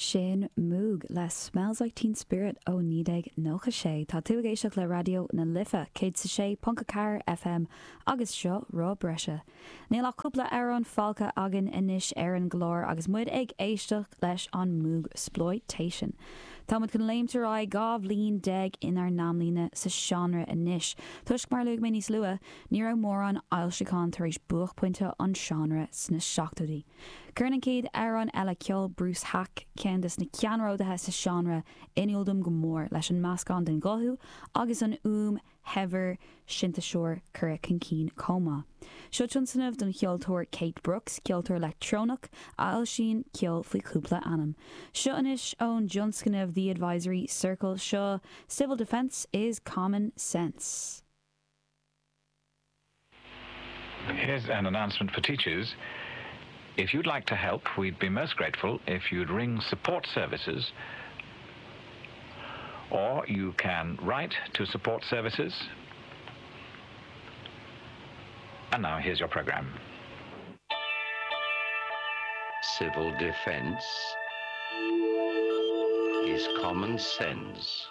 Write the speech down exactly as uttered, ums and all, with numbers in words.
Sin Moog le Smells Like Teen Spirit ó naoi déag nócha sé. Tá tú ag éisteacht le Raidió na Life céad is a sé ponc a ceathair FM agus seo Rá Breise. Níl ach cúpla amhrán fágtha againn anois ar an gclár agus muid ag éisteacht leis an Moogsploitation. Táimid chun léimt ar aghaidh dhá bhliain déag inár n-amlíne sa seánra anois. Toisc mar luaigh mé níos luaithe, ní raibh mórán foilseachán tar éis buaicphointe an seánra sna seachtóidí. Cuireann an chéad amhrán eile ceol Bruce Haack ceann de na ceannródaithe sa seánra in iúl dom go mór leis an meascán den ghuth agus an fhuaim shaibhir sintéiseoir curtha chun cinn chomh maith. Seo tionscnamh don cheoltóir Kate Brooks, ceoltóir leictreonach a fhoilsíonn ceol faoi chúpla ainm. Seo anois ón tionscnamh The Advisory Circle seo Civil Defence is Common Sense. Here's an announcement for teachers. If you'd like to help, we'd be most grateful if you'd ring support services or you can write to support services. And now here's your program. Civil defense is common sense.